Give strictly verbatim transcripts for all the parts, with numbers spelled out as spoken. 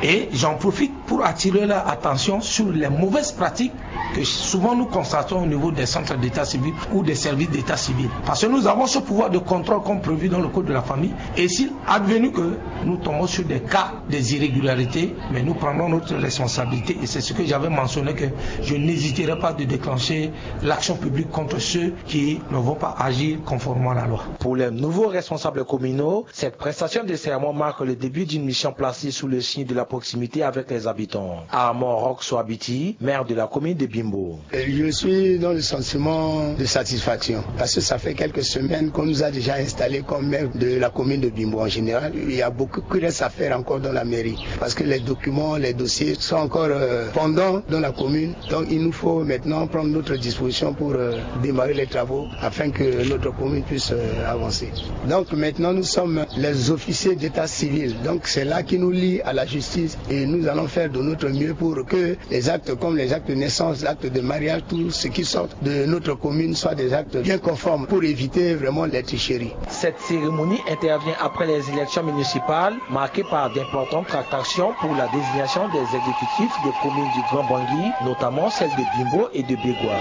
Et j'en profite pour attirer leur attention sur les mauvaises pratiques que souvent nous constatons au niveau des centres d'état civil ou des services d'état civil. Parce que nous avons ce pouvoir de contrôle comme prévu dans le code de la famille. Et s'il advenu que nous tombons sur des cas, des irrégularités, mais nous prendrons notre responsabilité. Et c'est ce que j'avais mentionné, que je n'hésiterai pas de déclencher l'action publique contre ceux qui ne vont pas agir conformément à la loi. Pour les nouveaux responsables communaux, cette prestation de serment marque le début d'une mission placée sous le signe de la proximité avec les habitants. Armand Roxo Abiti, maire de la commune de Bimbo. Je suis dans le sentiment de satisfaction parce que ça fait quelques semaines qu'on nous a déjà installés comme maire de la commune de Bimbo en général. Il y a beaucoup qui reste à faire encore dans la mairie parce que les documents, les dossiers sont encore euh, pendants dans la commune. Donc il nous faut maintenant prendre notre disposition pour euh, démarrer les travaux afin que notre commune puisse euh, avancer. Donc maintenant nous sommes les officiers d'état civil. Donc c'est là qui nous lie à la justice et nous allons faire de notre mieux pour que les actes comme les actes de naissance, l'acte de mariage, tout ce qui sort de notre commune soient des actes bien conformes pour éviter vraiment les tricheries. Cette cérémonie intervient après les élections municipales marquées par d'importantes tractations pour la désignation des exécutifs des communes du Grand Bangui, notamment celle de Bimbo et de Bégua.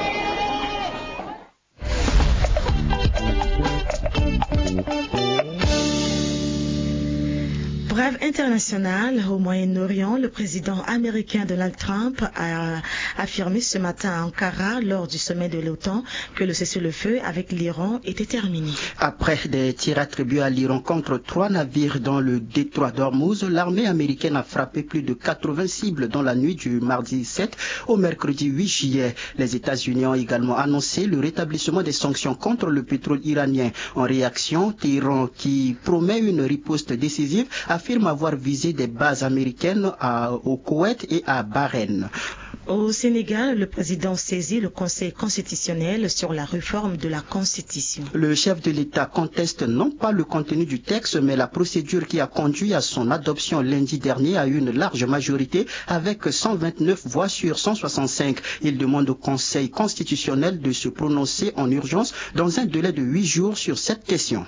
Brève internationale, au Moyen-Orient, le président américain Donald Trump a affirmé ce matin à Ankara, lors du sommet de l'OTAN, que le cessez-le-feu avec l'Iran était terminé. Après des tirs attribués à l'Iran contre trois navires dans le détroit d'Ormuz, l'armée américaine a frappé plus de quatre-vingts cibles dans la nuit du mardi sept au mercredi huit juillet. Les États-Unis ont également annoncé le rétablissement des sanctions contre le pétrole iranien. En réaction, Téhéran, qui promet une riposte décisive, affirme avoir visé des bases américaines à- au Koweït et à Bahreïn. Au Sénégal, le président saisit le Conseil constitutionnel sur la réforme de la Constitution. Le chef de l'État conteste non pas le contenu du texte, mais la procédure qui a conduit à son adoption lundi dernier à une large majorité avec cent vingt-neuf voix sur cent soixante-cinq. Il demande au Conseil constitutionnel de se prononcer en urgence dans un délai de huit jours sur cette question.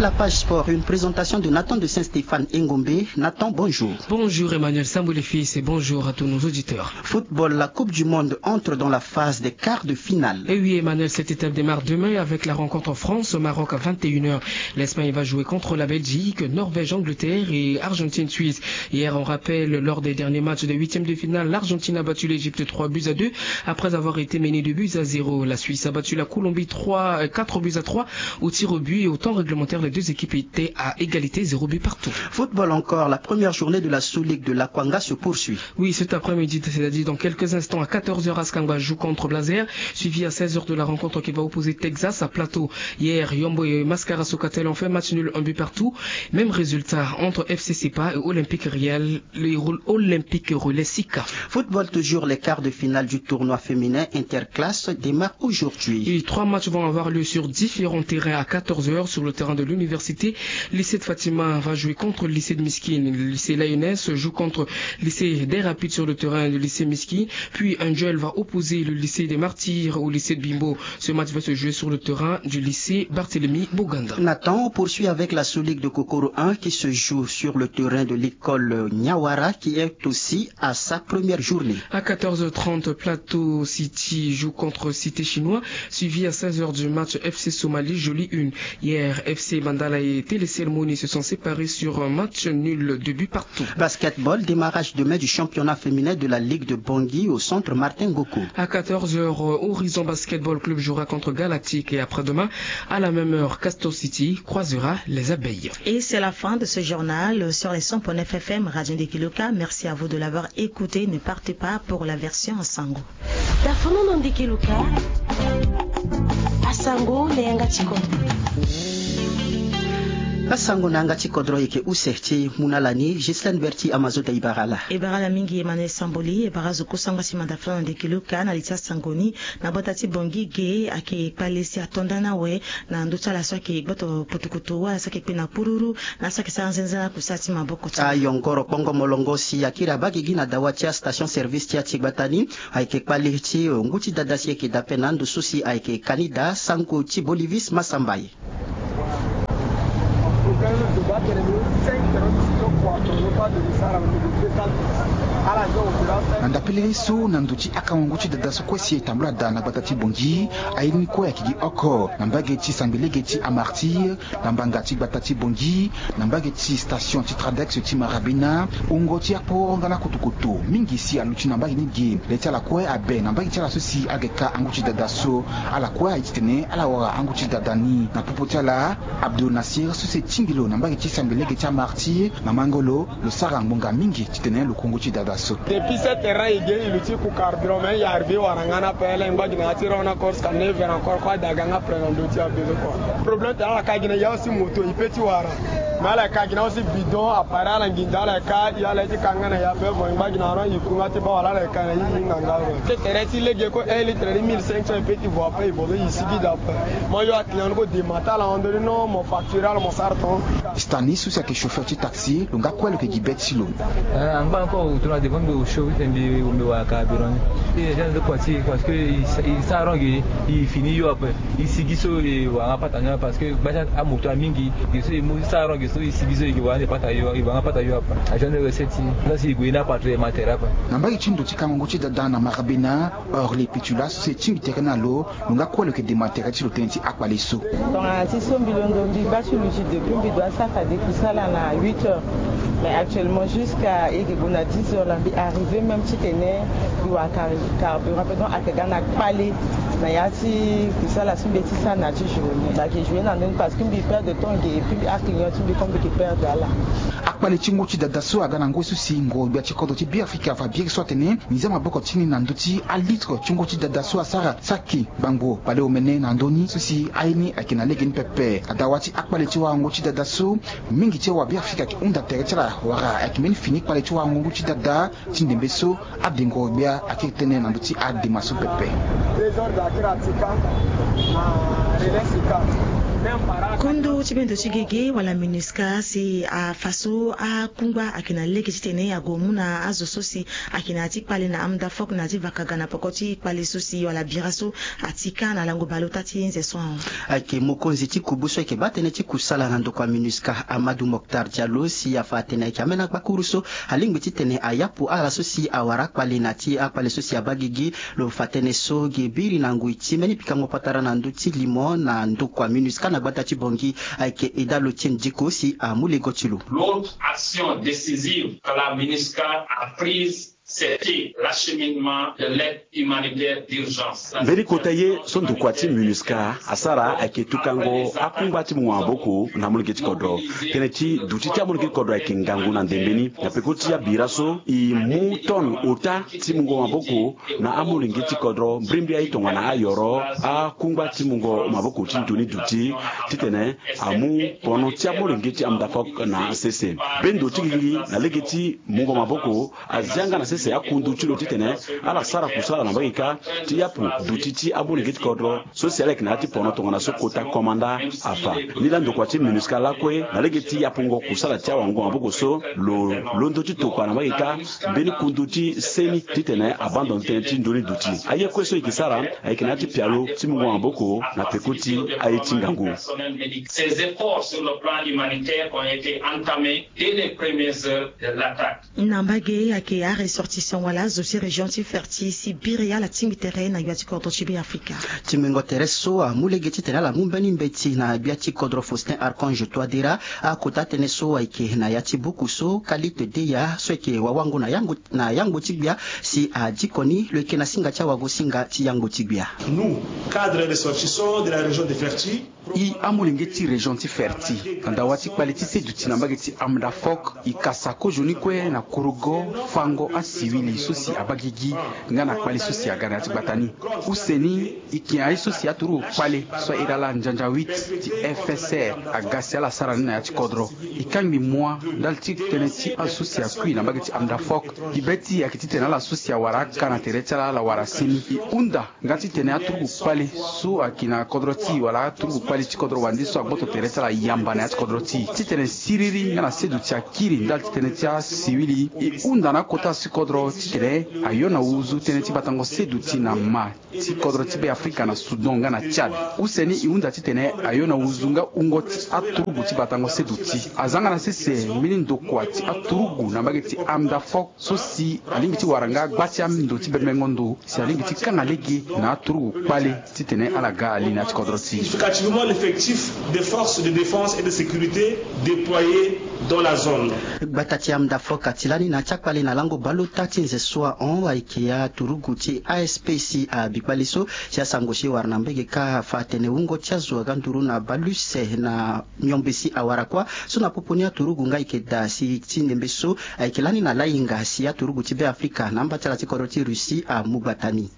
La page sport, une présentation de Nathan de Saint-Stéphane Engombe. Nathan, bonjour. Bonjour Emmanuel Samboulefis et bonjour à tous nos auditeurs. Football, la Coupe du Monde entre dans la phase des quarts de finale. Et oui Emmanuel, cette étape démarre demain avec la rencontre France-Maroc à vingt et une heures. L'Espagne va jouer contre la Belgique, Norvège-Angleterre et Argentine-Suisse. Hier, on rappelle, lors des derniers matchs des huitièmes de finale, l'Argentine a battu l'Égypte trois buts à deux après avoir été menée deux buts à zéro. La Suisse a battu la Colombie trois, euh, quatre buts à trois au tir au but et au temps réglementaire. Les deux équipes étaient à égalité, zéro but partout. Football encore, la première journée de la Sous-Ligue de l'Akwanga se poursuit. Oui, cet après-midi, c'est-à-dire dans quelques instants, à quatorze heures, Askangba joue contre Blazer, suivi à seize heures de la rencontre qui va opposer Texas à Plateau. Hier, Yombo et Mascara Sokatel ont fait match nul, un but partout. Même résultat entre F C Sepa et Olympique Real, les Olympique Relais Sika. Football toujours, les quarts de finale du tournoi féminin interclasse démarre aujourd'hui. Et trois matchs vont avoir lieu sur différents terrains à quatorze heures. Sur le terrain de l'université, lycée de Fatima va jouer contre le lycée de Miskin. Le lycée Lioness joue contre le lycée des Rapides sur le terrain du lycée Miskin. Puis un duel va opposer le lycée des Martyrs au lycée de Bimbo. Ce match va se jouer sur le terrain du lycée Barthélemy Boganda. Nathan, on poursuit avec la Sous-Ligue de Kokoro un qui se joue sur le terrain de l'école Nyawara, qui est aussi à sa première journée. À quatorze heures trente, Plateau City joue contre Cité Chinois, suivi à seize heures du match F C Somalie Jolie une. Hier, F C Bandala et Télé Ceremony se sont séparés sur un match nul de but partout. Basketball, démarrage demain du championnat féminin de la Ligue de Bangui au centre Martin Ngoko. À quatorze heures, Horizon Basketball Club jouera contre Galactique et après-demain, à la même heure, Castor City croisera les Abeilles. Et c'est la fin de ce journal sur les cent point neuf F M Radio Ndekiluka. Merci à vous de l'avoir écouté. Ne partez pas pour la version en sango. Tafono no Ndekiluka, asango na yanga ti kodro. Asango na yanga ti kodro eke use ti mu na ala ni, Ghislaine Berti Amazoda. E bara ala. E bara ala mingi Emmanuel Samboli. E bara zo kusango si manda fana na Ndekiluka na li ti asango ni. Na bota ti Bongi ge ayeke kpale si ato nda ni awe na ndö ti ala so ayeke gboto putukutu wala so ayeke kpe na pururu na so ayeke sara nzenza na kusala ti maboko ti ala. Ayongoro kpongo molongo si akiri abaa gigi na dawa ti astation service ti ya ti gbata ni. Ayeke kpale ti ngu ti dada si ayeke daa ape na ando so si ayeke kani daa sango ti Bolivis Masambaye. Na ndapelele so, na ndo ti akango ngu ti dada so kue si e tambula daa na gbata ti Bangui, aye ni kue ayeke gi oko na mbage ti sangbe lege ti Amartyr, na mbanga ti gbata ti Bangui, na mbage ti station ti Tradex ti Marabena, wungo ti akporo nga na kotokoto mingi si aluti na mbage ni ge. Le ti ala kue abe na mbage ti ala so si ayeke ka angu ti dada so. Ala kue aye titene ala wara angu ti dada ni. Na popo ti ala, Abdul Nasir so si e tingbi lo na mbage ti sangbe lege ti Amartyr na mango lo, lo sara ngbonga mingi titene lo ku ngu ti dada so. Depuis sept heures e ge, e luti ku carburant, mais e arrivé wara nga na ape, ala ngba gi na ya ti rond na corse ka neuf heures encore, kue adaga nga après na ndö ti abezo kua. Problème tene ala ka gi na ya aussi moto, e peut ti wara. Mais ala ka gi na aussi bidon, appareil ala nginza, ala ka, e ala ye ti ka nga na ya ape, bon, e ngba gi na rond, e ku nga ti baa wala ala ye ka na e, e hinga nga. Sept heures ti lege kue, un litre ni mille cinq cents, e peut ti vo ape, e bozo e sigi daa ape. Mo yo aclient ni kue, dema ti ala hon ndoni, non, mo facture ala, mo sara ton. Stanis so si ayeke chauffeur ti taxi, lo nga kue lo yeke gi be ti lo. Eh, angba encore, tongana devant mbi osio ti tene mbi wara carburant ni. E gêne de quoi ti, parce que e sa, e sa rond ge, e fini yo ape. E sigi so e wara nga pata ni, parce que gba ti amoto amingi, ge so e mu, e sa rond ge so e sigi so e wara nga pata yo, e wara nga pata yo ape. A gêne de recette ti, la si e gue na patron e ma tere ape. Na mbage ti ndo ti kango ngu ti dada na Marabena, Orly Pitula so si e tingbi tere na lo, lo nga kue lo yeke dema tere ti lo tënë ti akpale so. Tongana ti so mbi londo, mbi baa ti luti depuis mbi dua sara fade kusala na huit heures. Mais actuellement, jusqu'à e yeke gue na dix heures la, mbi arrivé même titene mbi wara car-, carburant, donc ayeke ga na kpale na ya ti kusala so mbi ye ti sara na ya ti journée. Mbi yeke joué na ndö ni parce que mbi perdre temps ge, et puis aclient ti mbi kue mbi yeke perdre ala. Akpale ti ngu ti dada so aga na ngoi so si ngoro-gbia ti kodro ti Beafrika afa biri so atene nginza maboko ti ni na ndö ti alitre ti ngu ti dada so asara saki gbangbo kpale omene na ndö ni so si aye ni ayeke na lege ni pepe. Adawa ti akpale ti warango ti dada so, mingi ti awabeafrika ayeke hunda tere ti ala wala ayeke mbeni fini kpale ti warango ngu ti dada ti ndembe so. Ade ngoro-gbia akiri tënë na ndö ti adema so pepe. Désordre akiri atika na relais sika. Kondo ti bendo ti gege wala MINUSCA si afa so akungba ayeke na lege titene ague mu na azo so si ayeke na ya ti kpale na Amdafok na ya ti vaka ga na peko ti kpale so si wala bira so atika na lango baleota ti nze so ahon. Ayeke mokonzi ti kubu so ayeke baa tënë ti kusala na ndokua MINUSCA, Amadou Mokhtar Diallo, si afa atene ayeke ambeni akpakuru so alingbi titene ayapu ala so si awara akpale na ya ti akpale so si abaa gigi. Lo fa tënë so ge biri na ngoi ti mbeni pikango patara na ndö ti limo na ndokua MINUSCA na gbata ti Bangui, ayeke Eda Lotien Diko si amu lego ti lo. L'autre action décisive que la MINUSCA a prise, c'était l'acheminement de l'aide humanitaire d'urgence. Mbeni kota ye so ndokua ti MINUSCA asara ayeke tukango akungba ti mungo maboko na amolenge ti kodro. Tënë ti duti ti amolenge ti kodro ayeke ngangu na ndembe ni. Na peko ti abira so, e mu tonne ota ti mungo maboko na amolenge ti kodro, mbrimbri aye tongana ayoro, akungba ti mungo maboko ti ndo ni duti titene amu pono ti amolenge ti Amdafok na sese. Bendo ti gigi na lege ti mungo maboko azia nga na sese akundu ti lo titene ala sara kusala na mbage kâ ti yapu duti ti amolenge ti kodro so si ala yeke na ya ti pono tongana so kota komanda afa. Ni laa ndokua ti MINUSCA lakue na lege ti yapungo kusala ti awango maboko so, lo londo ti tokua na mbage kâ mbeni kundu ti seni titene abandon tënë ti ndo ni duti. Aye kue so e yeke sara ayeke na ya ti pialo ti mungo maboko na peko ti aye ti ngangu. Ces efforts sur le plan humanitaire ont été entamés dès les premières heures de l'attaque. Na mbage ayeke aressortissant wala azo ti région ti Ferti si biri ala tingbi tere na gbia ti kodro ti Beafrika. Tingbingo tere so amu lege titene ala mu mbeni mbeti na gbia ti kodro Faustin Archange Touadéra. Akota tënë so ayeke na ya ti buku so Khalid Deya so ayeke wawango na yangbo, na yangbo ti gbia si adiko ni, lo yeke na singa ti awagosinga ti yangbo ti gbia. Nous, cadres et ressortissants de la région de Ferti, e amolenge ti région ti Ferti, na dawa ti kpale ti seduti na mbage ti Amdafok, e kasa kozoni kue na kurugo fango asiwili so si abaa gigi nga na kpale so si aga na ya ti gbata ni. Use ni, e yeke aye so si aturugu kpale so a iri ala Njanjan huit ti F S R aga si ala sara ni na ya ti kodro. E kangbi mua ndali ti tënë ti azo so si akui na mbage ti Amdafok. Gi be ti e ayeke titene ala so si awara aka na tere ti ala ala wara seni. E hunda nga titene aturugu kpale so ayeke na kodro ti e wala aturugu kpale ti kodro wande so agboto tere ti ala yamba na ya ti kodro ti e titene siriri nga na seduti akiri ndali ti tënë ti asiwili. E hunda na akota si kodro kodro titene ayo na wuzu tënë ti batango seduti na ma ti kodro ti Be Afrika na Soudan nga na Tchad. Use ni e hunda titene ayo na wuzu nga wungo ti aturugu ti batango seduti. Azanga na sese mbeni ndokua ti aturugu na mbage ti Amdafok so si alingbi ti wara nga gba ti ando ti bembengo ndo si alingbi ti kanga lege na aturugu kpale titene ala ga ali na ya ti kodro ti. Significativement l'effectif des forces de défense et de sécurité déployées dans la zone. Gbata ti Amdafok ati lani na ya ti akpale na lango baleota ti nze so ahon ayeke aturugu ti A S P C abi kpale so si asango si e wara na mbege kâ afa atene wungo ti azo aga nduru na baleuse na miombe si awara kuâ so na popo ni aturugu nga ayeke daa si ti ndembe so ayeke lani na lahinga si aturugu ti Be Afrika na amba ti ala ti kodro ti Russie amu gbata ni.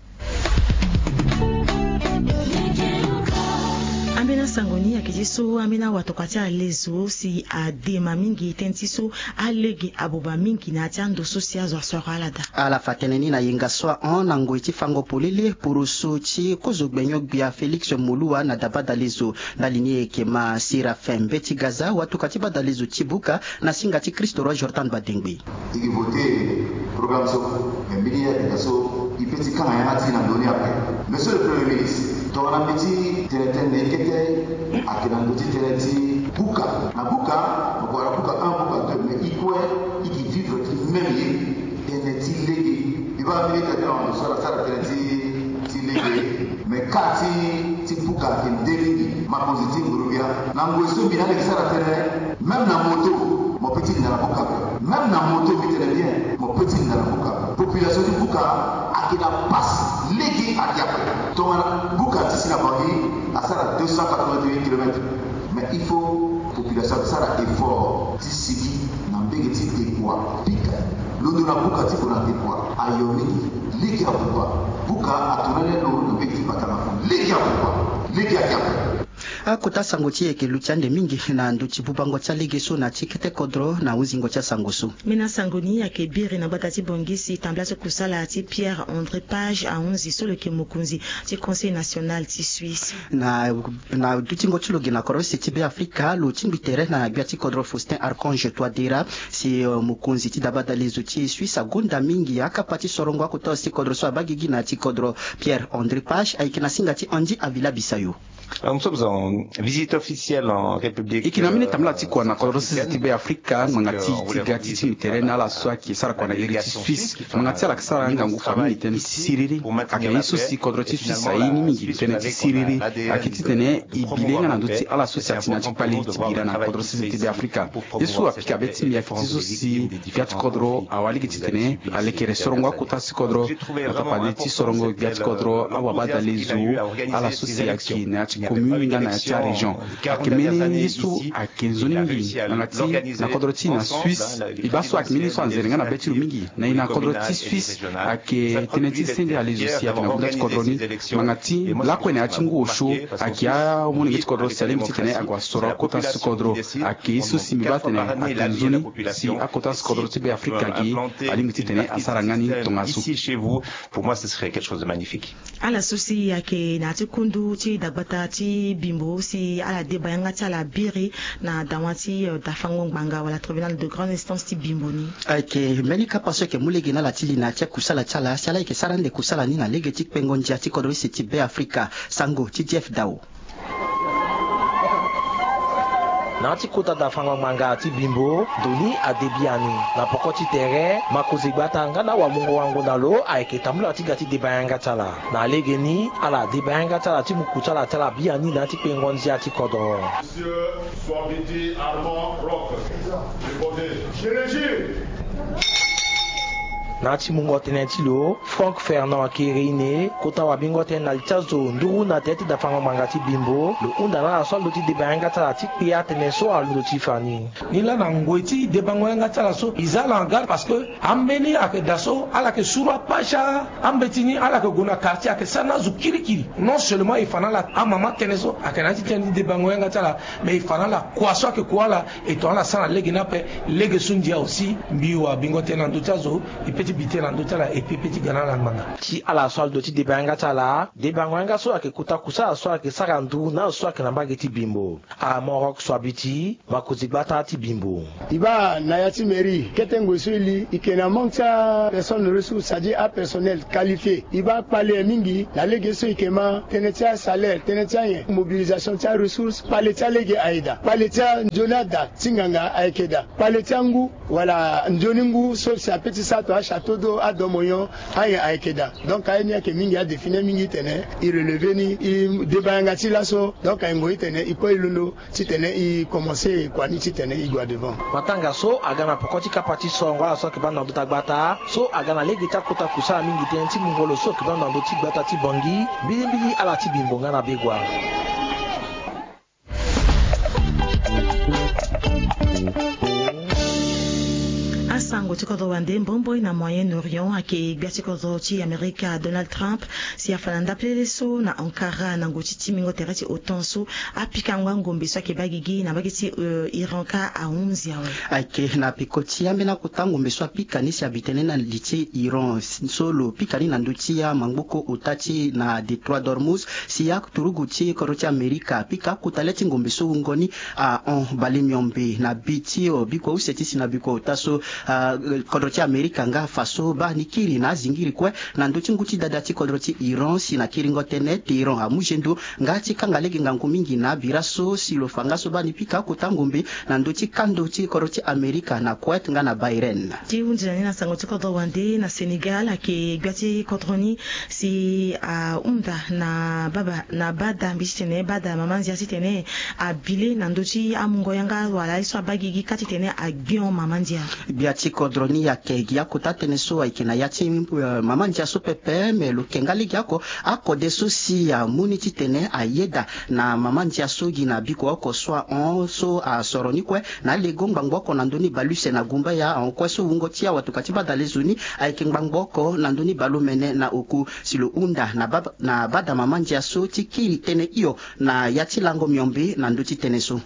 Ambeni asango ni ayeke ti so ambeni awatokua ti alezo si adema mingi tënë ti so alege abuba mingi na ya ti ando so si azo asoro ala daa. Ala fa tënë ni na yenga so ahon na ngoi ti fango polele poroso ti kozo gbenyo-gbia Félix Moloua na dabadalezo. Ndali ni e yeke ma Séraphin Mbeti Gaza, watuka ti badalezo ti buka, na singa ti Christ Roi Jordan Badengbe. E ke voté programme so, me mbeni ye ayeke daa so e peut ti kanga yanga ti e na ndö ni ape. Monsieur le Premier ministre, tongana mbi ti tene tënë na e kete ayeke na ndö ti tënë ti buka. Na buka, mo ke wara buka un, buka deux, mais e kue e ke vivre ti même ye. Tënë ti lege. Mbi baa mbeni ye ti ade na wando so ala sara tënë ti, ti lege. Me kâ ti, ti buka ayeke nde mingi. Makonzi ti nguru-gbia. Na ngoi so mbi na aleke sara tënë, même na moto, mo peut ti linda na buka ape. Même na moto, mbi tene bien, mo peut ti linda na buka ape. Population ti buka ayeke na passe lege ayeke ape. Tongana buka ti si na Bangui asara deux cent quatre-vingt-huit kilomètres. Mais il faut population asara effort ti sigi na mbege ti dekua pika. Londo na buka ti gue na dekua ayo mingi. Lege abuba. Buka atongana ni alo na mbege ti batanga. Lege abuba. Lege ayeke ape. Akota sango ti e ayeke luti ande mingi na ndö ti bubango ti alege so na ti kete kodro na hunzingo ti asango so. Mbeni asango ni ayeke biri na gbata ti Bangui si tambula ti kusala ti Pierre André Page ahunzi so lo yeke mokonzi ti Conseil national ti Suisse. Na, na dutingo ti lo ge na kodro use ti Be Afrika, lo tingbi tere na gbia ti kodro Faustin Archange Touadéra si, eh, mokonzi ti dabadalezo ti Suisse agonda mingi akapa ti sorongo akota use ti kodro so abaa gigi na ya ti kodro Pierre André Page ayeke na singa ti Andy Avila Bisayo. Alors, nous sommes en visite officielle en République. E yeke na mbeni tambula ti kua na kodro sese ti Be Afrika, ngbanga ti e ti ga ti tingbi tere na ala so ayeke sara kua na iri ti Suisse. Ngbanga ti ala ayeke sara ngangu famille tënë ti siriri. Ayeke ye so si kodro ti Suisse aye ni mingi tënë ti siriri. Ayeke titene e bi le nga na ndö ti ala so si ati na ya ti kpale ti bira na kodro sese ti Be Afrika. Ye so apika be ti mbi ayeke ti so si gbia ti kodro awa lege titene alekere sorongo akota si kodro. Atapali ti sorongo gbia ti kodro awabadalezo ala so si ayeke na ya ti commune nga na ya ti arégion. Ayeke mbeni ye so ayeke nzoni mingi ngbanga ti na kodro ti e na Suisse. E baa so ayeke mbeni ye so anzere nga na be ti lo mingi. Na e na kodro ti Suisse ayeke tënë ti sende alezo si ayeke na gunda ti kodro ni. Ngbanga ti lakue na ya ti ngu osio ayeke amolenge ti kodro si alingbi titene ague asoro akota si kodro. Ayeke ye so si mbi baa atene ayeke nzoni si akota si kodro ti Be Afrika ge alingbi titene asara nga ni tongaso. Ici, chez vous, pour moi, ce serait quelque chose de magnifique. Ala so si ayeke na ya ti kundu ti dagbata ti Bimbo si ala deba yanga ti ala biri na dawa ti, eh, dafango ngbanga wala tribunal de grande instance ti Bimbo ni. Ayeke mbeni kapa so ayeke mu lege na ala ti li na ya ti akusala ti ala si ala yeke sara ande kusala ni na lege ti kpengo ndia ti kodro use ti Be Afrika. Sango ti Jeff Dao. Na ya ti kota dafango ngbanga ti Bimbo, ndo ni ade biani. Na poko ti tere, makonzi gbata nga na awamungo wango na lo ayeke tambula ti ga ti deba yanga ti ala. Na lege ni, ala deba yanga ti ala ti muku ti ala ti ala biani na ya ti kpengo ndia ti kodro. Monsieur Swabiti Armand Rock, déposé. Na ya ti mungo tënë ti lo, Franck Fernand Kereine, kota wabingo tënë na li ti azo nduru na tere ti dafango ngbanga ti Bimbo, lo hunda na ala so alondo ti deba yanga ti ala ti kpe atënë so alondo ti fa ni. Ni laa na ngoi ti debango yanga ti ala so, e za ala en garde parce que ambeni ayeke daa so, ala yeke suru apasha, ambeti ni ala yeke gue na quartier, ayeke sara na azo kirikiri. Non seulement e fa na ala amama tënë so ayeke na ya ti tënë ti debango yanga ti ala, mais e fa na ala kua so ayeke kua ala, e tongana ala sara na lege ni ape, lege so ndia aussi, mbi wabingo tënë na ndö ti azo, e peut Ti bi tënë na ndö ti ala epepe ti ga na ala ngbanga. Ti ala so alondo ti deba yanga ti ala, debango yanga so ayeke kota kusala so ayeke sara nduru na azo so ayeke na mbage ti Bimbo. Amorok so abi ti makonzi gbata ti Bimbo. E baa na ya ti mairie kete ngoi so e li e yeke na manque ti apersonne ressource, c'est-à-dire apersonnel qualifié. E baa kpale mingi na lege so e yeke ma tënë ti asalaire, tënë ti anyen, mobilisation ti aressource, kpale ti alege aye daa, kpale ti anzoni ada ti nganga ayeke daa, kpale ti angu wala nzoni ngu so si ape ti sara to achâteau d'eau, adomo nyon, anyen ayeke daa. Donc aye ni ayeke mingi, adéfi ni mingi titene e relever ni, e deba yanga ti laso. Donc aye ngoi titene e kue e londo titene e commencer kua ni titene e gue devant. Matanga so aga na poko ti kapa ti sorongo ala so ayeke baa na ndö ti agbata so aga na lege ti akota kusala mingi tënë ti mungo lo so ayeke baa na ndö ti gbata ti Bangui, mbilimbili ala ti Bimbo nga na Begoua. Asango ti kodro wande mbomboi na Moyen-Orient ayeke gbia ti kodro ti Amerika Donald Trump si afa na ndapelele so na Ankara na ngu ti timbingo tere ti OTAN so apika ngba ngombe so ayeke baa gigi na mbage ti Iran ka ahunzi awe. Ayeke na peko ti ambeni akota ngombe so apika ni si abi tënë na li ti Iran so lo pika ni na ndö ti amangboko ota ti na détroit d'Ormuz si aturugu ti kodro ti Amerika apika akota le ti ngombe so wungo ni ahon bale miombe na bi ti o bikua use ti si na bikua ota so. Kodro ti Amerika nga afa so baa ni kiri na azingiri kue na ndö ti ngu ti dada ti kodro ti Iran si na kiringo tënë Téhéran amu zendo nga ti kanga lege ngangu mingi na abira so si lo fa nga so baa ni pika akota ngombe na ndö ti kando ti kodro ti Amerika na Kuwait nga na Bahreïn. Ti hunzi na ni na sango ti kodro wande na Sénégal ayeke gbia ti kodro ni si ahunda na baba na bada mbi titene bada mama ndia titene abi le na ndö ti amungo yanga wala aye so abaa gigi ka titene agbion mama ndia. Gbia ti kodro ni ayeke gi akota tënë so ayeke na ya ti mama ndia so pepe me lo yeke nga lege oko akode so si amu ni titene ayeda na mama ndia so gi na biko oko so ahon so asoro ni kue na alego ngbangbo oko na ndö ni baleuse na gumbaya ahon kue so wungo ti awatuka ti bada lezo ni ayeke ngbangbo oko na ndö ni baleomene na oku si lo hunda na bada mama ndia so ti kiri tënë hio na ya ti lango miombe na ndö ti tënë so.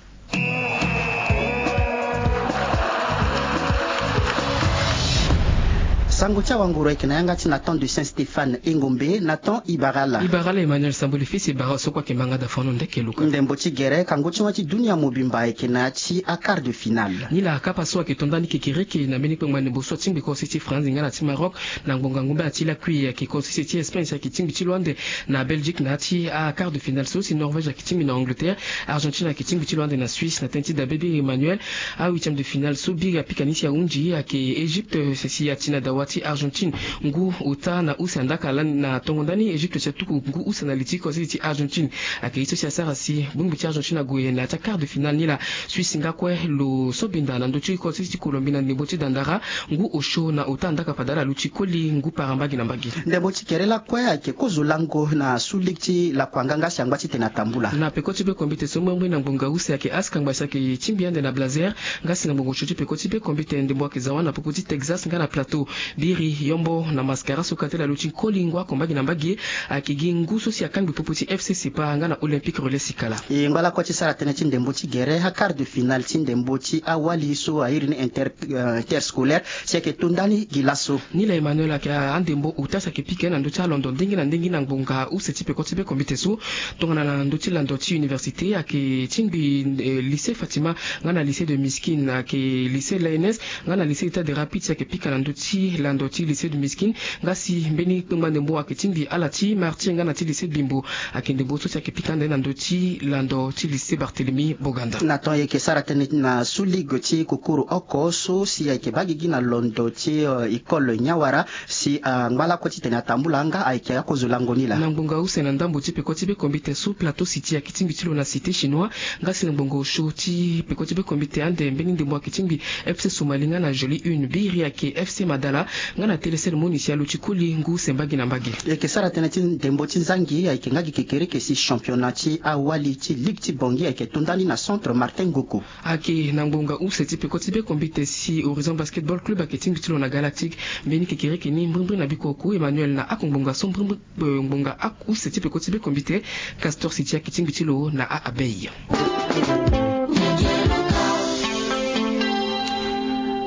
Sango ti awanguru ayeke na yanga ti Nathan de Saint Stéphane e ngombe. Nathan, e bara ala. E bara ala Emmanuel Samboli fils, e bara so kue ayeke mbanga da fano ndeke luka. Ndembo ti gere kango ti wa ti dunia mobimba ayeke na ya ti a quart de finale. Ni laa kapa so ayeke to ndani kekereke na mbeni kpengba ndembo so atingbi kose ti France nga na ti Maroc na ngbonga ngombe na ti lakui ayeke kose ti Espagne si ayeke tingbi ti lo ande na Belgique na ya ti a quart de finale so si Norvège ayeke tingbi na Angleterre. Argentine ayeke tingbi ti lo ande na Suisse na tënë ti dabe biri Emmanuel. A huitième de finale so biri apika ni si ahunzi ayeke Égypte si ati na dawa ti Argentine ngu ota na use andaka lani na tongo ndani Égypte si atuku ngu use na li ti kose ti Argentine. Ayeke ye so si asara si bongbi ti Argentine ague na ya ti a quart de finale ni laa. Suisse nga kue lo so benda na ndö ti kose ti Colombie na ndembo ti dandara ngu osio na ota andaka fade ala luti koli ngu para mbage na mbage. Ndembo ti kere lakue ayeke kozo lango na su ligue ti lakua nga nga si angba titene atambula. Na peko ti bekombite so mbrimbri na ngbonga use ayeke askangba si ayeke tingbi ande na Blazer nga si na ngbonga osio ti peko ti bekombite ndembo ayeke za wâ na popo ti Texas nga na Plateau. Biri yombo na mascara so kate lalu ti koli ngu oko mbage na mbage ayeke gi ngu so si akangbi popo ti FC Sepa nga na Olympique Relais Sikala. E ngba lakue ti sara tënë ti ndembo ti gere a quart de finale ti ndembo ti awali so airi ni inter, interscolaire si ayeke to ndani gi laso. Ni laa Emmanuel ayeke andembo ota si ayeke pika na ndö ti alondo ndenge na ndenge na ngbonga use ti peko ti bekombite so. Tongana na ndö ti lando ti université ayeke tingbi lycée Fatima nga na lycée de Miskine ayeke lycée l'A N S nga na lycée État de Rapide si ayeke pika na ndö ti lando ti lycée de Miskine. Nga si mbeni kpengba ndembo ayeke tingbi ala ti Martyr nga na ti lycée Bimbo ayeke ndembo so si ayeke pika ande na ndö ti lando ti lycée Barthélemy Boganda. Na ton e yeke sara tënë na su ligue ti kukuru oko so si ayeke baa gigi na londo ti école Nyawara si angba lakue titene atambula nga ayeke akozo lango ni laa. Na ngbonga use na ndambo ti peko ti bekombite so Plateau City ayeke tingbi ti lo na Cité Chinois. Nga si na ngbonga osio ti peko ti bekombite ande mbeni ndembo ayeke tingbi FC Somali nga na Jolie Une, biri ayeke FC Madala nga na Télécel Moni si aluti koli ngu use mbage na mbage. E yeke sara tënë ti ndembo ti nzangi ayeke nga gi kekereke si championnat ti awali ti ligue ti Bangui ayeke to ndani na centre Martin Ngoko. Ayeke na ngbonga use ti peko ti bekombite si Horizon Basketball Club ayeke tingbi ti lo na Galactique. Mbeni kekereke ni mbrimbri na biko oku Emmanuel na akongbonga so mbrimbri ngbonga use ti peko ti bekombite. Castor City ayeke tingbi ti lo na a Abeille.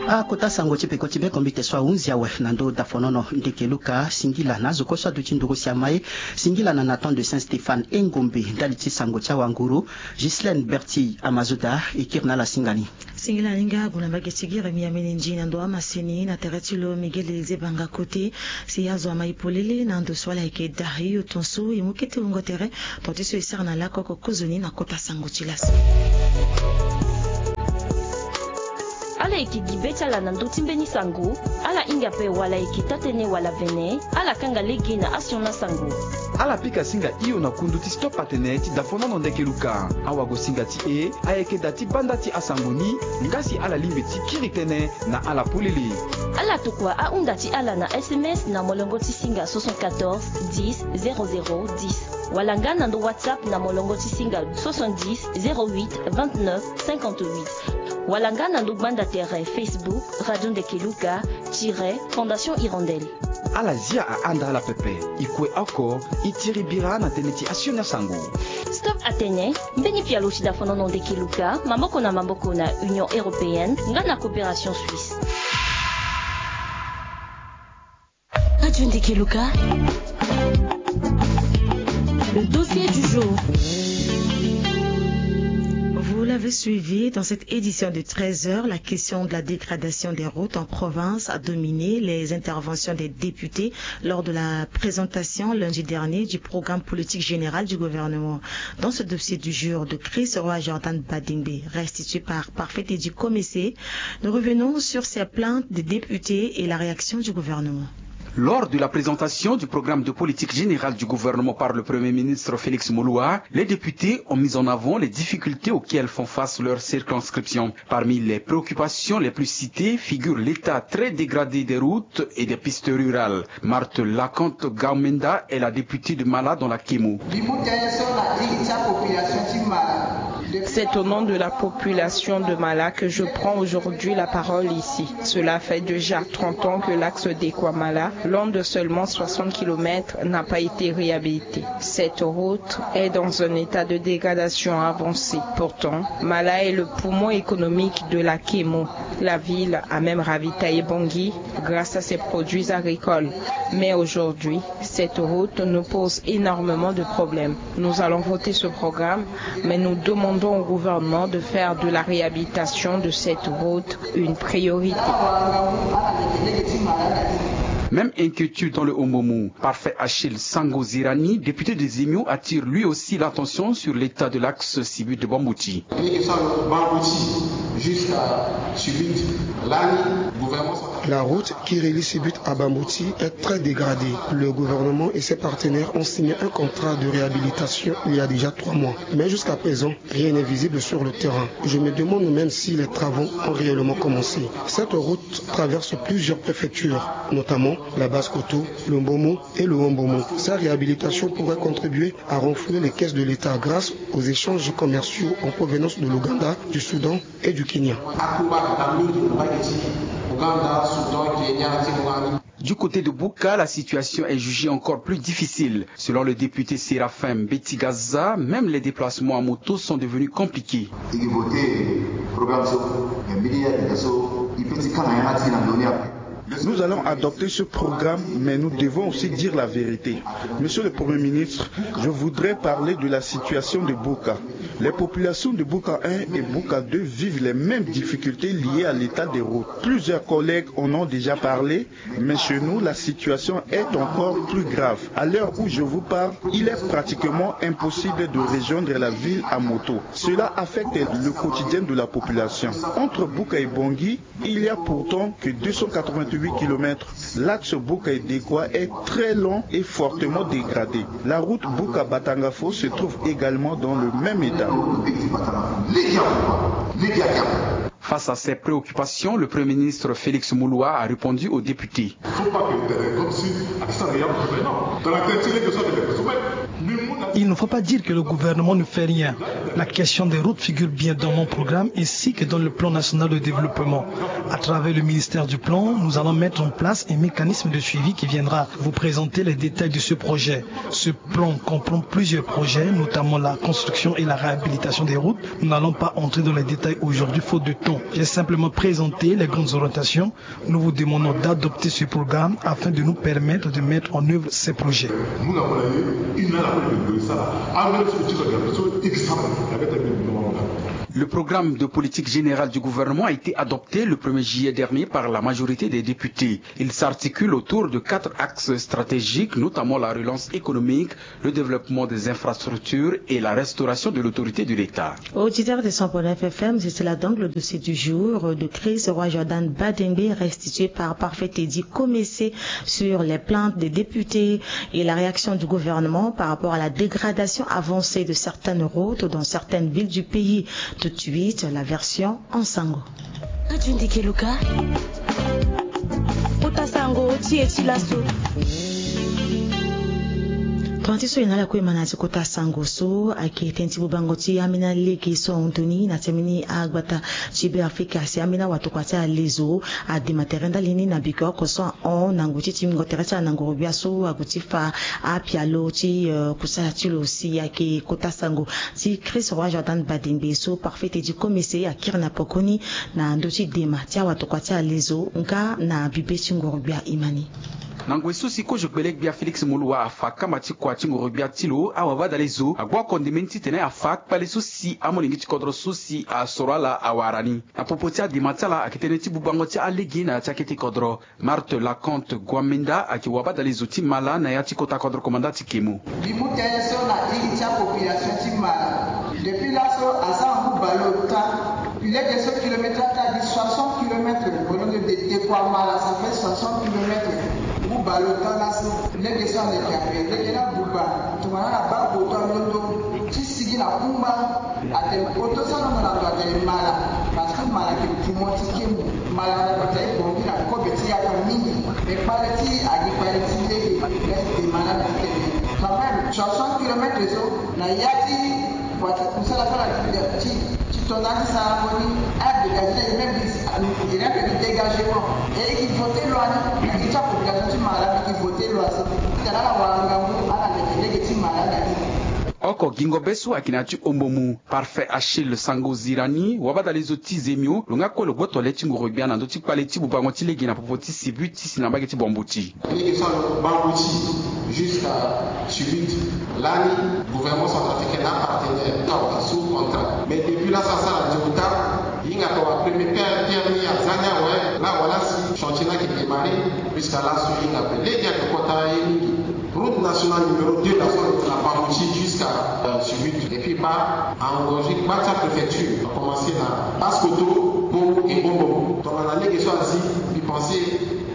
Akota sango ti peko ti be kombi te so ahunzi awe na ndo dafonono ndeke luka singila na azo kue so aduti nduru si ama ye. Singila na Nathan de Saint Stéphane Engombe ndali ti sango ti awanguru. Ghislaine Berti Amazoda e kiri na ala singa ni. Singila alinga ague na mbage ti gere miamene ndi na ndo amaseni na tere ti lo Miguel Eliezer Banga Kote. Si azo ama e polele na ndo so ala yeke daa hio tonso e mu kete wungo tere. Tonga ti so e sara na lakoko kozoni na kota sango ti laso. Ala yeke gi be ti ala na ndö ti mbeni sango. Ala hinga ape wala ayeke taa-tënë wala vene. Ala kanga lege na asioni asango. Ala pika singa hio na kundu ti Stop Atene ti dafonono ndeke luka. Awagosinga ti e ayeke daa ti banda ti asango ni. Nga si ala lingbi ti kiri tënë na ala polele. Ala tokua ahunda ti ala na S M S na molongo ti singa soixante-quatorze dix zéro zéro dix. Wala nga na ndo WhatsApp na molongo ti singa soixante-dix zéro huit vingt-neuf cinquante-huit. Wala nga na ndo gbanda tere Facebook Radio Ndeke Luka tiret Fondation Hirondelle. Ala zia ahanda ala pepe. E kue oko, e tiri bira na tënë ti asioni asango. Stop Atene, mbeni pialo ti dafonono ndeke luka maboko na maboko na Union Européenne nga na Coopération Suisse. Radio Ndeke Luka. Le dossier du jour. Vous l'avez suivi dans cette édition de treize heures, la question de la dégradation des routes en province a dominé les interventions des députés lors de la présentation lundi dernier du programme politique général du gouvernement. Dans ce dossier du jour de Chris Roy Jordan Badingbe, restitué par Parfait Teddy Komessé, nous revenons sur ces plaintes des députés et la réaction du gouvernement. Lors de la présentation du programme de politique générale du gouvernement par le Premier ministre Félix Moloua, les députés ont mis en avant les difficultés auxquelles font face leur circonscription. Parmi les préoccupations les plus citées figure l'état très dégradé des routes et des pistes rurales. Marthe Lakante Gaumenda est la députée de Mala dans la Kemo. Mbi mu tënë so na iri ti apopulation ti Mala. C'est au nom de la population de Mala que je prends aujourd'hui la parole ici. Cela fait déjà trente ans que l'axe Dekoa-Mala, long de seulement soixante kilomètres, n'a pas été réhabilité. Cette route est dans un état de dégradation avancée. Pourtant, Mala est le poumon économique de la Kemo. La ville a même ravitaillé Bangui grâce à ses produits agricoles. Mais aujourd'hui, cette route nous pose énormément de problèmes. Nous allons voter ce programme, mais nous demandons au gouvernement de faire de la réhabilitation de cette route une priorité. Même inquiétude dans le Hombomou. Parfait Achille Sango Zirani, député des Imio, attire lui aussi l'attention sur l'état de l'axe Sibut de Bambouti. Lege so alo Bambouti jusqu'à Sibut lani, gouvernement central. La route qui relie Sibut à Bambouti est très dégradée. Le gouvernement et ses partenaires ont signé un contrat de réhabilitation il y a déjà trois mois. Mais jusqu'à présent, rien n'est visible sur le terrain. Je me demande même si les travaux ont réellement commencé. Cette route traverse plusieurs préfectures, notamment la Basse-Kotto, le Mbomou et le Haut-Mbomou. Sa réhabilitation pourrait contribuer à renflouer les caisses de l'État grâce aux échanges commerciaux en provenance de l'Ouganda, du Soudan et du Kenya. Akubaka mingi na mbage ti Ouganda, Soudan, Kenya ti Rwanda. Du côté de Bouka, la situation est jugée encore plus difficile. Selon le député Séraphin Betigaza, même les déplacements à moto sont devenus compliqués. Igi voté programme so, mais midi ya kita so, il peut ti kanga yanga ti na ndoni après. Nous allons adopter ce programme, mais nous devons aussi dire la vérité. Monsieur le Premier ministre, je voudrais parler de la situation de Bouka. Les populations de Bouka un et Bouka deux vivent les mêmes difficultés liées à l'état des routes. Plusieurs collègues en ont déjà parlé, mais chez nous, la situation est encore plus grave. À l'heure où je vous parle, il est pratiquement impossible de rejoindre la ville à moto. Cela affecte le quotidien de la population. Entre Bouka et Bangui, il y a pourtant que deux cent quatre-vingt-huit kilomètres. L'axe Bouka et Dekoa est très long et fortement dégradé. La route Bouka-Batangafo se trouve également dans le même état. Face à ces préoccupations, le Premier ministre Félix Moloua a répondu aux députés. Faut pas que, euh, comme si, ah, ça, il y a un problème. Non. Dans la tête, il est que ça, il est Il ne faut pas dire que le gouvernement ne fait rien. La question des routes figure bien dans mon programme ainsi que dans le plan national de développement. À travers le ministère du Plan, nous allons mettre en place un mécanisme de suivi qui viendra vous présenter les détails de ce projet. Ce plan comprend plusieurs projets, notamment la construction et la réhabilitation des routes. Nous n'allons pas entrer dans les détails aujourd'hui faute de temps. J'ai simplement présenté les grandes orientations. Nous vous demandons d'adopter ce programme afin de nous permettre de mettre en œuvre ces projets. Le programme de politique générale du gouvernement a été adopté le premier juillet dernier par la majorité des députés. Il s'articule autour de quatre axes stratégiques, notamment la relance économique, le développement des infrastructures et la restauration de l'autorité de l'État. Auditeur de cent point neuf F M, c'est là donc le dossier du jour de Chris Roy Jordan Badengbe, restitué par Parfait Teddy Komessé, sur les plaintes des députés et la réaction du gouvernement par rapport à la dégradation avancée de certaines routes dans certaines villes du pays. Tout de suite, la version en sango. Katundi Keluka. Kota sango ti e ti laso. Tonga ti so e na ala kue ma na ya ti kota sango so ayeke tënë ti bubango ti ambeni alege so ahon toni na ti ambeni agbata ti Beafrika si ambeni awatokua ti alezo adema tere ndali ni na biko oko so ahon na ngoi ti tingbingo tere ti ala na ngorogbia so ague ti fa apialo ti, eh, kusala ti lo si ayeke kota sango ti Chris Roy Jordan Badengbe so Parfait Teddy Komessé akiri na pokoni na ndö ti dema ti awatokua ti alezo nga na bibe ti ngorogbia e ma ni. Na ngoi so si kozo gbele-gbia Félix Moloua afa kamba ti kua ti ngorogbia ti lo, awabadalezo agbu akonde mbeni titene afa akpale so si amolenge ti kodro so si asoro ala awara ni. Na popo ti adema ti ala ayeke tënë ti bubango ti alege na ya ti akete kodro. Marthe Laconte Guamenda ayeke wabadalezo ti mala na ya ti kota kodro komanda ti Kemo. Mbi mu tënë so na iri ti apopulation ti mala. Depuis laso asara ngu bale ota. Lege so kilomètre ata gi soixante kilomètres. Molenge de Tekua Mala, ça fait soixante kilomètres. Ngu bale ota laso. Lege so aleke ape. Lege ni abuba. Tongana ala baa koto alondo ti sigi na kumba. Atene koto so alongo na ndo atene mala. Parce que mala ayeke poumon ti kemo. Mala na bata e bongi na kobe ti yaka mingi. Mais kpale ti agi kpale ti lege. Lege ti dema na ti tene. Quand même, soixante kilomètres so na ya ti Parce que kusala so ala ti, ti, ti tonda ti sarango ni, adégagé na ye même bis, rien que du dégagement. Et e ki voté loi ni, na ye ti apopulation ti mala, e ki voté loi so. Titene ala wara ngangu, ala leke lege ti mala na ye. Oko gingo be so ayeke na ya ti ombo mu, Parfait Achille Sango Zirani, wabadalezo ti Zemio, lo nga kue lo gboto le ti ngoro gbia na ndö ti kpale ti bubango ti lege na popo ti Sibuti si na mbage ti Bambuti. Lege so alondo Bambuti jusqu'à Sibuti. Lani, gouvernement centrafricain na apartenaire, awa sous contrat. Mais depuis là, ça, ça, la ota, hinga ko wa premier terre, terre ni ya zania, ouais, là, voilà, si chantier là qui démarré, jusqu'à là, sur une appel. Les gars, de kota ye mingi. Route nationale numéro deux, là, sur la Bambuti jusqu'à, euh, Sibuti. Et puis, bah, a engorgé, bah, sa préfecture. A commencé na Basse-Kotto, Bobo et Bobo. Donc, on a les questions ainsi, puis penser,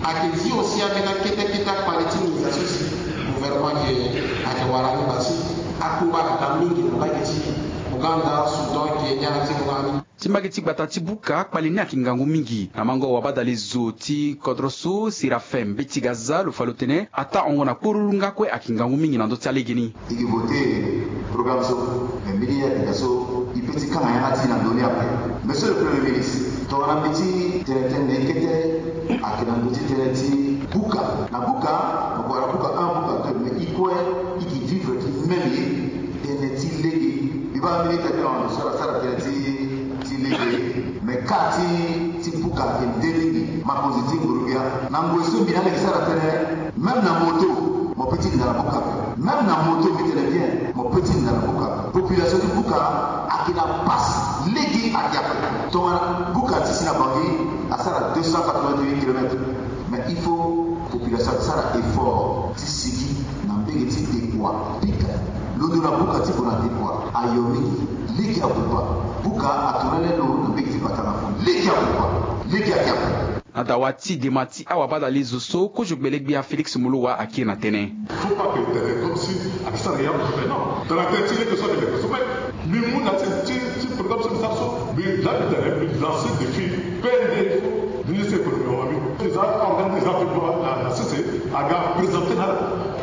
ayeke zi aussi ambeni akete kete akpale ti nginza so si gouvernement ayeke, ayeke wara ni baa si akumba ayeke daa mingi na mbage ti Ouganda, Soudan, Kenya, ti longani. Ti mbage ti gbata ti Buka, kpale ni ayeke ngangu mingi. Na mango wabadalezo ti kodro so, Séraphin Mbeti Gaza, lo fa lo tene ataa hongo na kporuru nga kue ayeke ngangu mingi na ndö ti alege ni. E ke voté programme so, mais mbeni ya tita so e peut ti kanga yanga ti e na ndö ni ape. Monsieur le Premier ministre, tongana mbi ti tene tënë na e kete, ayeke na ndö ti tënë ti Buka. Na Buka, na Buka un, Buka deux, mais e kue e ke vivre ti même ye, tënë ti lege. Mbi baa mbeni ita ti lo so ala sara tënë ti, ti lege. Mais ka ti, ti Buka ayeke nde mingi. Makonzi ti nguru gbia. Na ngoi so mbi na mbi yeke sara tënë, même na moto, mo peut ti linda na Buka. Même na moto, mbi tene bien, mo peut ti linda na Buka. Population ti Buka ayeke na passe, lege ayeke ape. Tongana Buka ti si na Bangui asara deux cent quatre-vingt-huit kilomètres. Mais il faut population asara effort ti sigi na mbage ti Dekua, Bika. Londo na Buka ti gue na Dekua ayo mingi. Lege abuba. Buka atourner lo na mbage ti Batanafo. Lege abuba. Lege ayeke ape. Na dawa ti dema ti awabadalezo so, kozo gbele gbia Félix Moloua akiri na tënë. Faut pas que tene comme si ayeke sara yamu so tene, non. Tongana tënë ti lege so ayeke leke so, mais mbi mu na ti, ti, ti programme so mbi sara so, mbi laa mbi tene, mbi lancer défi P N D so, ministre économie wa mbi. Eza organisé, eza fait droit na, na sese, aga présenter na ala.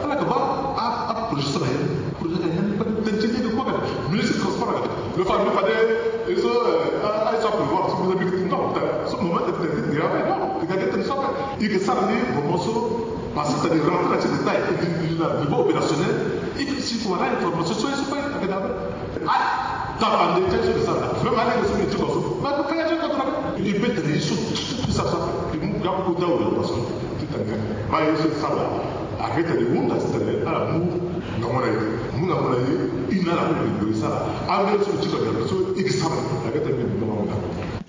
Ala yeke baa a, a projet so na ye. Projet na ye. So parce que c'est des rentrées, c'est des tailles, il est là, niveau opérationnel, il faut avoir information sur ce point. Ah, tapande ti aye so de sara, même alege so mbi ti ko so ma ko kanga ti ko tona. Il peut tene ye so tout ça ça. Mu ga kota wala parce que ti tene ma ye so sara. Ake tene hunda ti tene ala mu ngango na ye, mu ngango na ye. Ina ala ko mbi sara. Alege so mbi ti ko so e ke sara. Ake tene mbi ngango na.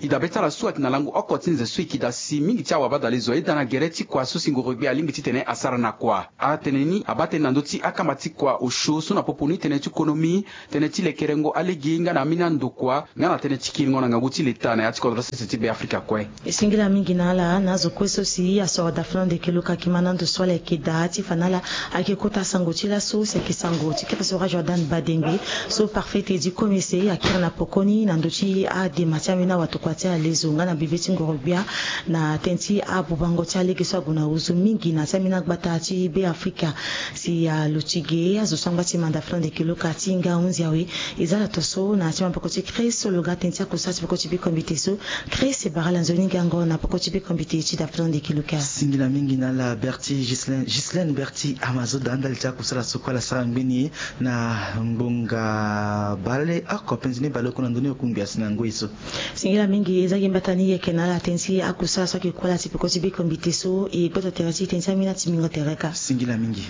E dabe ti ala so ayeke na lango oko ti nze so e yeke daa si mingi ti awabadalezo ayeda na gere ti kua so si ngoro gbia alingbi titene asara na kua. Atene ni abaa tënë na ndö ti akamba ti kua osio so na popo ni tënë ti konomi, tënë ti lekerengo alege nga na ambeni andokua nga na tënë ti kiringo na ngangu ti leta na ya ti kodro sese ti Beafrika kue. E singila mingi na ala na azo kue so si asoro dafulande keloka kima na ndo so ala yeke daa ti fa na ala ayeke kota sango ti laso si ayeke sango ti kiri so roi Jordan Badengbe so parfait ti di komese akiri na pokoni na ndö ti adema ti ambeni awatokua ti alezo nga na bibe ti ngoro gbia na tënë ti abubango ti alege so ague na ozo mingi na ti ambeni agbata ti Beafrika. Si alo ti ge azo so angba ti manda flan de keloka ti hinga ahunzi awe. E za ala to so na ya ti maboko ti Chris so lo ga tënë ti akusara ti peko ti biko mbite so. Chris e bara ala nzoni gango na peko ti biko mbite ti daflan de keloka. Singila mingi na ala Berti Ghislaine, Ghislaine Berti Amazoda ndali ti akusara so kue ala sara ngbeni ye na ngbonga bale oko penzi ni bale oko na ndoni oku ngbia si na ngoi so. Singila mingi e za gi mbata ni yeke na ala tënë ti akusara so ayeke kuâ ala ti peko ti biko mbite so e gboto tere ti tënë ti ambeni ati mingo tere ka. Singila mingi.